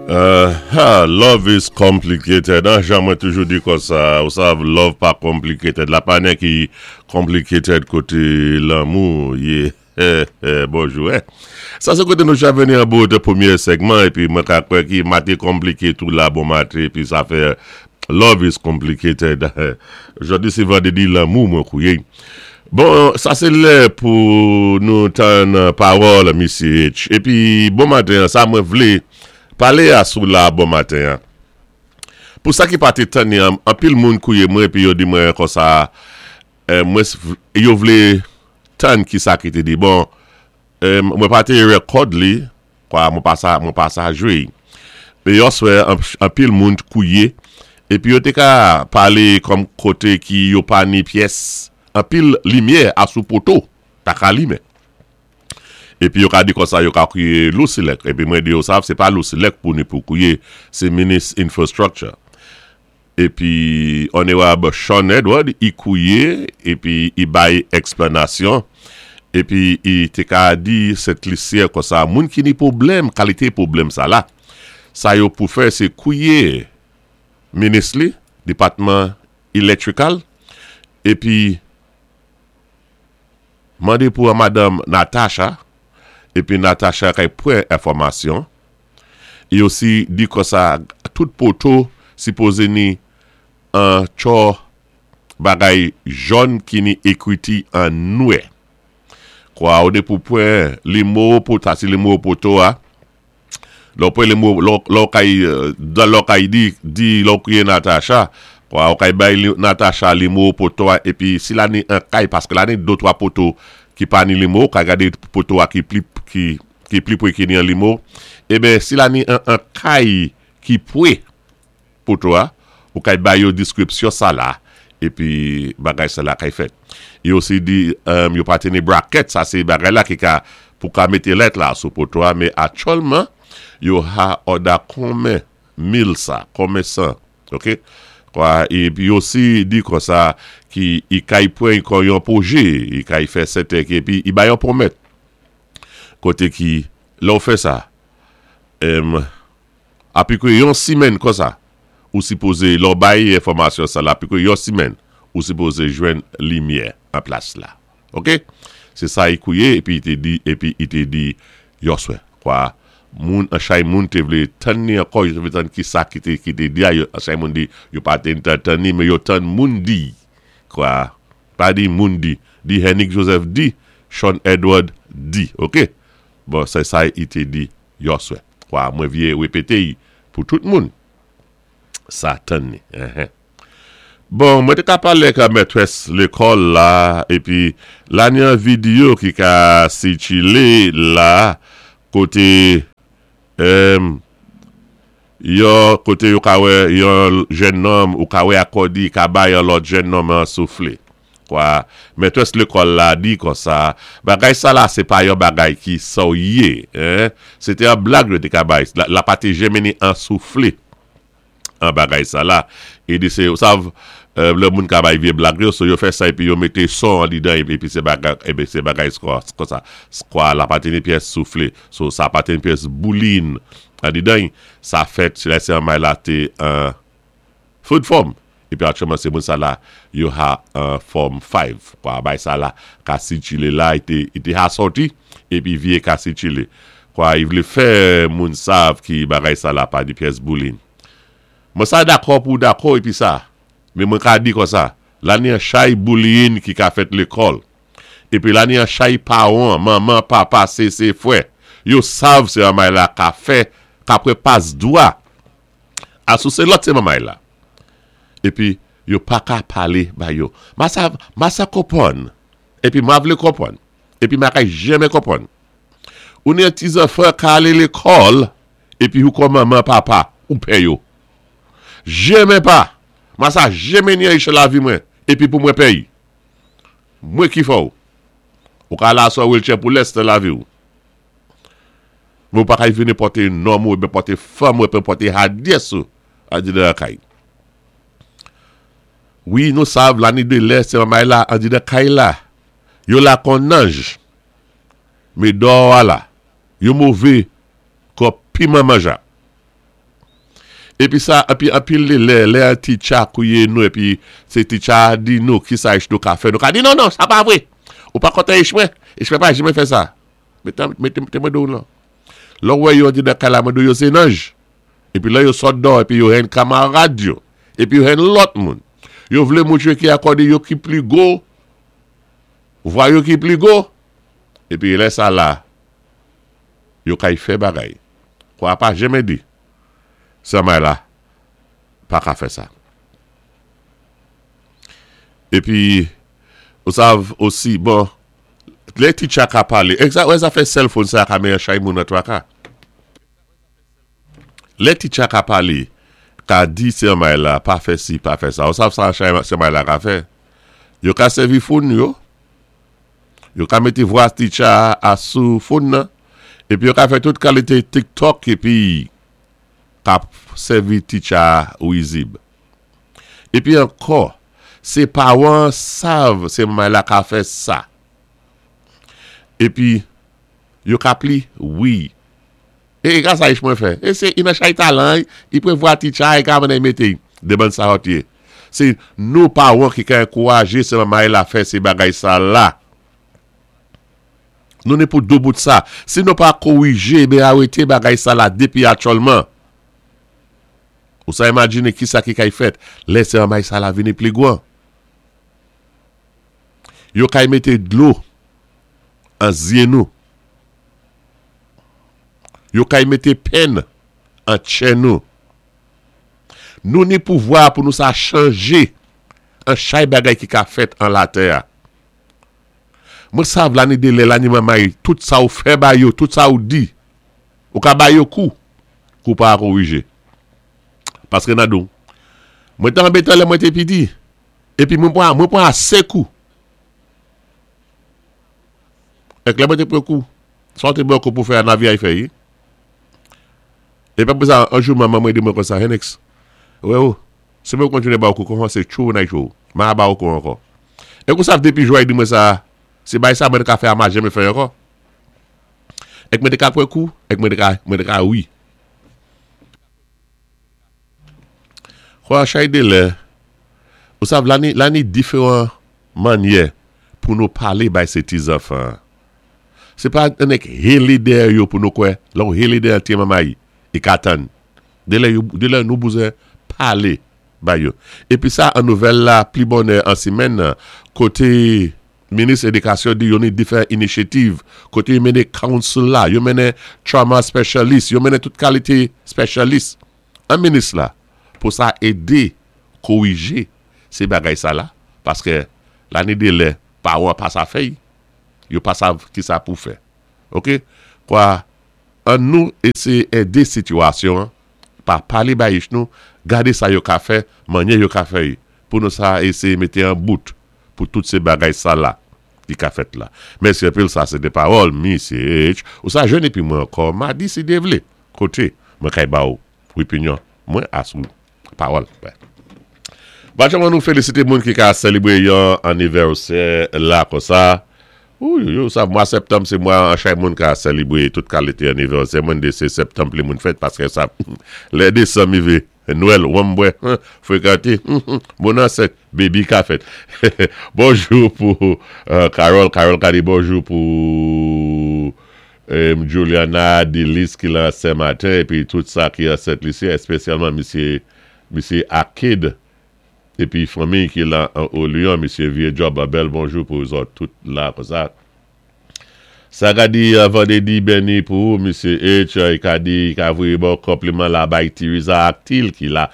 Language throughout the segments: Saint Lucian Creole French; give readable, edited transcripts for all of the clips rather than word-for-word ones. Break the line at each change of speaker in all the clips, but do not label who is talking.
Ha love is complicated an jan mwen toujou di konsa ou sav love pa complicated la pa nen ki complicated kote lanmou ye bonjou eh sa se kote nou cha veni an bout premye segman epi mwen ka kwè ki mate konplike tou la bon mate epi sa fè love is complicated jodi se vandredi lanmou mwen kouye bon sa se lè pou nou tann pawòl misye H epi bon maten an sa mwen vle pale a sou la bon maten an pou sa ki pa te tann ni anpil moun kouye mwen epi yo di mwen konsa mwen yo vle tann kisa ki te di bon mwen pa te record li kwa mwen pa sa mwen pa sa jwe men yon swè anpil moun t kouye epi yo te ka pale kòm kote ki yo pa ni pyès anpil limyè a sou poto ta ka limen epi yo ka di konsa yo ka kouye Lousilèk epi mwen di yo sa se pa Lousilèk pou ni pou kouye se minis infrastructure. Epi Onerab Shawn Edward i kouye epi i bay eksplanasyon epi i te ka di Sent Lisyè konsa moun ki ni pwoblèm kalite pwoblèm sa la sa yo pou fè se kouye minis li depatman electrical epi mande pou madanm Natasha epi Natasha kay pran enfòmasyon E osi di konsa tout poto sipoze ni an tchò bagay jòn ki ni ekriti an nwè. Kwa ou de pou pwen limo pou sa se limo poto a. Lè w pwen limo lè w kay dan lè w kay di di lè w kriye Natacha kwa ou kay bay Natacha limo poto a epi si la ni an kay paske la ni do twa poto ki pa ni limo ou kay gade poto a ki pli ki ki pli pwe ki ni an limo, eben si la ni an an kay ki pwe poto a, ou kay bay yo diskripsyon sa la, epi bagay sa la kay fèt. Yo osi di yo pa teni bracket, sa se bagay la ki ka pou ka mete lèt la sou poto a, men aktyèlman yo ha òda konmen mil sa, konmen 100, ok. Kwa, epi yo osi di konsa ki i kay pwen kon yon pwoje, i kay fè sèten ki epi i bay yon pwomèt. Kote ki lè w fè sa em apikwe yon simèn konsa ou sipoze lè w bay enfòmasyon sa la apikwe yon simèn ou sipoze jwenn limyè an plas la ok se sa i kouye epi i te di epi i te di yòswè kwa moun an chay moun te vle tann ni ankò yo te vle tann kisa ki te ki te di a yo an chay moun di yo pa te tann ni men yo tann moun di kwa. Pa di moun di. Di Hennick Joseph di, Shawn Edward di. Ok. Bon, se sa i te di yòswè. Kwa, mwen vye repete i pou tout moun. Sa tann ni. Enhen. Bon, mwen te ka pale ak mètrès lekòl la, epi la ni yon videyo ki ka sikile la, kote, em, Yon kote yo ka wè yon jennonm ou ka wè akòdi ka bay yon lòt jennonm an soufle. Kwa, mètrès lekòl la di konsa, bagay sa la se pa yon bagay ki serye, hein. Se te yon blag yo te ka bay, la pa te jèmen ni an soufle an bagay sa la. E di se, ou sav, lè moun ka bay vye blag yo, so yo fè sa epi yo mete son andidan epi se bagay, epi se bagay konsa. Kwa, la pa te ni pyès soufle. So sa pa te ni pyès boulin Andidan y, sa fèt lè se anmay la te an food fòm. Epi aktyèlman se moun sa la yo ha an fòm 5. Kwa bay sa la ka sikile la y te y te ha sòti epi vye ka sikile. Kwa y vle fè moun sav ki bagay sa la pa di pyès boulin. Mwen sa dakò pou dakò epi sa. Men mwen ka di konsa, la ni an chay bullying ki ka fèt lekòl. Epi la ni an chay paran, manman, papa, sese, frè. Yo sav se mamay la ka fè, ka pre pas dwa a sou se lòt se mamay la. Epi yo pa ka pale ba yo. Ma sa, ma sa konprann. Epi ma vle konprann. Epi ma ka jeme konprann. Ou ni an ti zanfan ka ale lekòl, epi ou kon manman, papa, ou pè yo. Jeme pa. Ma sa jeme ni an iche lavi mwen, epi pou mwen pè y. Mwen ki fè w. Ou ka la sou wheelchair pou lès nan lavi w. Men ou pa ka vini pòte nonm ou oubyen pòte fanm ou oubyen pòte hadyès ou andidan kay. Wi nou sav la ni de lè se mamay la andidan kay la. Yo la kon nanj. Me dò a la. Yo move kon piman manja. Épi sa, épi anpil dé lè, lè an teacher kwié nou épi sé teacher a di nou kisa ich nou ka fè, nou ka di non non, sa pa vwé! Ou pa konten ich mwen? Ich mwen pa janmen fè sa. Mete, mete, mete mwen di ou non. Lè ou wè yo antre nan kay la mwen di ou yo sé nanj. Épi lè yo sot dò épi yo henn kamarad yo, épi yo henn lòt moun. Yo vlé moutré ki akòde yo ki pli gwo, vwa yo ki pli gwo. Épi lè sa la, yo kay fè bagay. Kwa pa janmen di, sè may la pa ka fè sa. Épi, ou sav osi, bon, lè teacher ka palé, egza, wè zafè cellphone sa ka meyan chay moun nan twaka. Lè teacher ka palé, ka di sè may la pa fè si, pa fè sa. Ou sav sa chay sè may la ka fè? Yo ka sèvi phone yo, yo ka mété vwa teacher a sou phone nan, épi yo ka fè tout kalité TikTok épi ka sèvi teacher a rizib. Épi ankò, sé pawan sav sé may la ka fè sa. Épi, yo ka pli wi. E e sa ich mwen fè. E se ina chay talan, i prevwa teacher, e ka menen mete deban sa hot ye. Se nou pawan ki ka ankouraje se mamay la fè se bagay sa la. Nou ni pou do bout sa. Si nou pa korije, be arete bagay sa la depi aktyèlman. Ou sa imajine ki sa ki kay fèt, lè se mamay sa la vini pli gwan. Yo kay mete dlo an zye nou. Yo kay mete penn an tchè nou. Nou ni pouvwa pou nou sa chanje an chay bagay ki ka fèt an latè a. Mwen sav la ni delè la ni manmay tout sa ou fè ba yo, tout sa ou di. Ou ka ba yo kou, kou pa korije. Paske nan dou, mwen te anbetan lè mwen te piti, epi mwen pran mwen pran ase kou. Èk lè mwen te pran kou, sa ou te pran kou pou fè a nan vi a y fè yi. E pa pou sa, an jou manman mwen di mwen konsa, Hennex, wè ou, si mwen kontinye ba ou kou konsa se tchou nan tchou, mwen a ba ou kou ankò. Èk ou sav depi jou a y di mwen sa, se bay sa mwen te ka fè a ma janmen fè ankò. Èk mwen te ka pran kou, èk mwen te ka, mwen te ka wi. Kwa chay de lè, ou sav la ni, la ni diferan mannyè pou nou pale bay se ti zanfan. Se pa annik hele dèyè yo pou nou kwè, lè ou hele dèyè ti mamay, i ka tann. De lè yo, de lè nou bouzen pale bay yo. Epi sa an nouvèl la pli bonè an simèn nan, kote minis edikasyon di yo ni diferan inisyativ, kote yo mennen council la, yo mennen trauma specialist, yo mennen tout kalite specialist an minis la pou sa ede korije se bagay sa la, paske la ni de lè paran pa sa fèy, yo pa sav ki sa pou fè. Ok, kwa an nou eseye ede sitiyasyon an, pa pale bay ich nou, gade sa yo ka fè, manyè yo ka fè y, pou nou sa eseye mete an bout pou tout se bagay sa la ki ka fèt la. Mèsi anpil sa se te pawòl Misye H. Ou sa jwenn epi mwen ankò madi si Dye vle. Kote mwen kay ba ou opinyon mwen a sou pawòl mwen. Bajan nou felisite moun ki ka selebre yon anivèsè la konsa. Ouyouyou sa mwa septanm se mwa an chay moun ka selebre tout kalite anivèsè mwen de se septanm pli moun fèt paske sa lè desanm rive Nwèl wanm bwè frekante moun ansent baby ka fèt bonjou pou Carole Carole ka di bonjou pou Juliana Dilis ki lan Sen Maten epi tout sa ki an Sent Lisi espesyalman misye misye Akid epi fanmiy ki lan Olion misye Vye Job bèl bonjou pou zòt tout la konsa. Sa ka di Vandredi beni pou ou Misye H i ka di i ka voye baw konpliman la bay Tiriza ak Til ki la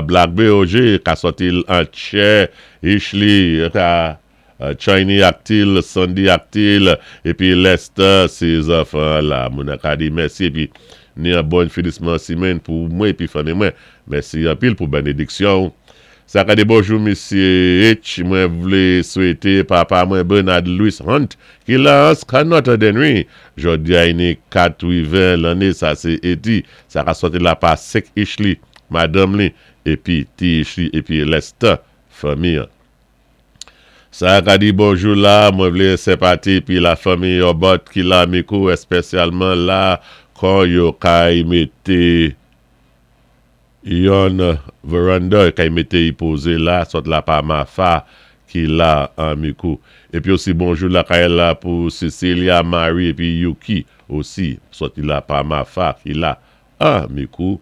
Black BOG ka sòti l an tchè Ishly ka Chiny ak Til Sandy ak Til epi Lester se zanfan an la moun an ka di mèsi epi ni an bòn finisman simenn pou mwen epi fanmi mwen mèsi anpil pou benediksyon ou Sa ka di bonjou misye H mwen vle swete papa mwen Bernard Louis Hunt ki la an Scanot Denry jodi a ini 80 lanne sa se eti sa ka sòti la pa 5 Ishly madanm li epi ti Ishly epi Lester fanmi an. Sa ka di bonjou la mwen vle senpati epi la fanmi Yobot ki la mikou espesyalman la kon yo kay mete. Yon veranda kay mété y pozé la, sòt la pa Mafa ki la an Mikou. Épi osi bonjou lakay la pou Cecilia, Marie épi Yuki osi sòti la pa Mafa ki la an Mikou.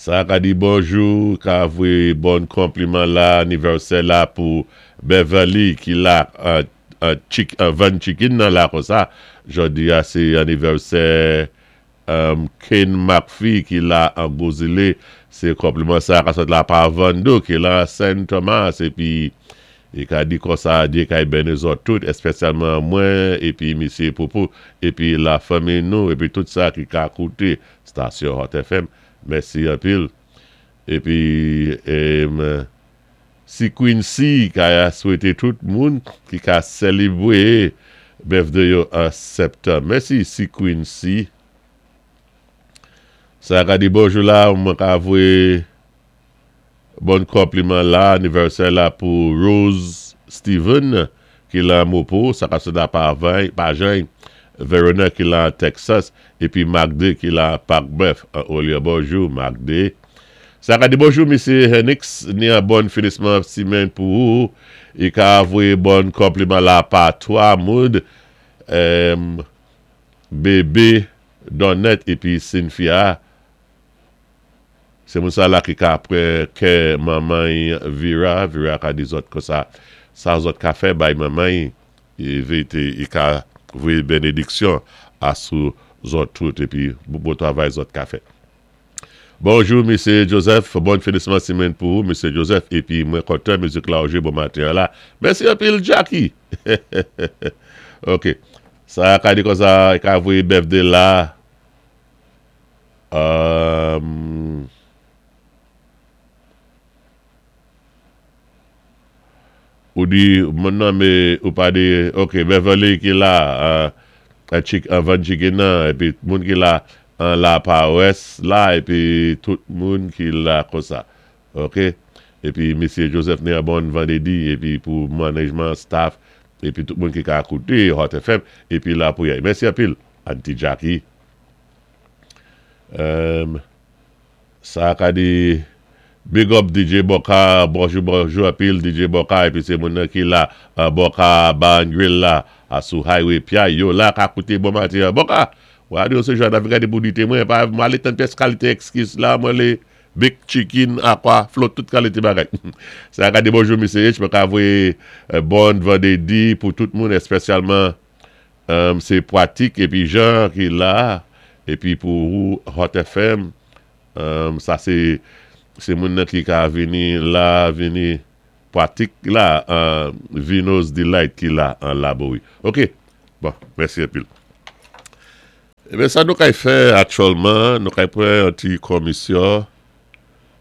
Sa ka di bonjou, ka voyé bon konpliman la anivèsè la pou Beverly ki la an vann chicken nan la konsa. Jòdi a sé anivèsè Kane McPhee ki la an Gwo Zilé, sé konpliman sa ka sòt la pa Vando ki la Sen Thomas épi i ka di konsa Dye kay beni zòt tout èspèsyalman mwen épi misye Poupou épi la fanmi nou épi tout sa ki ka kouté stasyon Hot FM. Mèsi anpil. Épi Si Quincy ka swété tout moun ki ka sélébwé birthday yo an septanm. Mèsi Si Quincy. Sa ka di bonjou la, mwen ka voyé bon konpliman la, anivèsè la pou Rose Steven ki lan Mopo, sa ka sot la pa pa Jany, Verona ki lan Texas, épi Magde ki lan Parc Boeuf an Olye. Bonjou Magde. Sa ka di bonjou misye Henix, ni an bon finisman simenn pou ou. I ka voyé bon konpliman la pa 3 moun, Bébé, Donnet épi Cynthia. Sé moun sa la ki ka pran kè manman Vira. Vira ka di zòt konsa, sa zòt ka fè bay manman vérité i ka voyé bénédiksyon asou zòt tout épi bon travay zòt ka fè. Bonjou Misye Joseph, bon finisman simenn pou ou Misye Joseph épi mwen kontan mizik la ou jwé bon maten an la. Mèsi anpil Jacky! Ok, sa ka di konsa i ka voyé birthday la Ou di moun nan mé ou pa di ok Beverly ki la an vann chicken nan épi moun ki la an la parès la épi tout moun ki la konsa ok épi misye Joseph ni an bon vandédi épi pou management staff épi tout moun ki ka kouté Hot FM épi la priyè mèsi anpil Auntie Jackie. Sa ka di Big up DJ Boka, bonjou bonjou anpil DJ Boka épi sé moun nan ki la Boka Bar and Grill la sou highway Piaye yo la ka kouté bon maten an Boka radio se jan nap gade pou di temwen pa m alé tann pyès kalité ekskiz la mwen lé bake chicken akwa float tout kalité bagay sa ka di bonjou Mesye H mwen ka voyé bon vandédi pou tout moun èspèsyalman Se pwatik épi Jean ki la épi pou ou Hot FM sa se se moun nan ki ka vini la vini pwatik la Vino's Delight ki la an Laborie ok bon mèsi anpil. Ebyen sa nou kay fè aktyèlman nou kay pran yon ti komisyon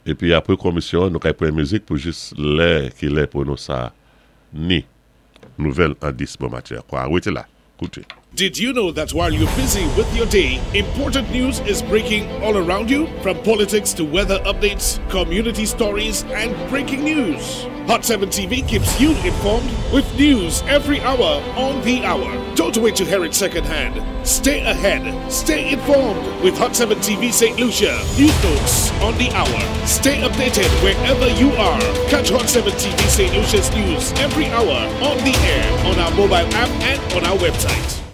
épi apre komisyon nou kay pran mizik pou jis lè ki lè pou nou sa ni. Nouvèl an 10 bon matyè kwa rete la koute.
Did you know that while you're busy with your day, important news is breaking all around you? From politics to weather updates, community stories, and breaking news. Hot 7 TV keeps you informed with news every hour on the hour. Don't wait to hear it secondhand. Stay ahead. Stay informed with Hot 7 TV St. Lucia. News notes on the hour. Stay updated wherever you are. Catch Hot 7 TV St. Lucia's news every hour on the air, on our mobile app, and on our website.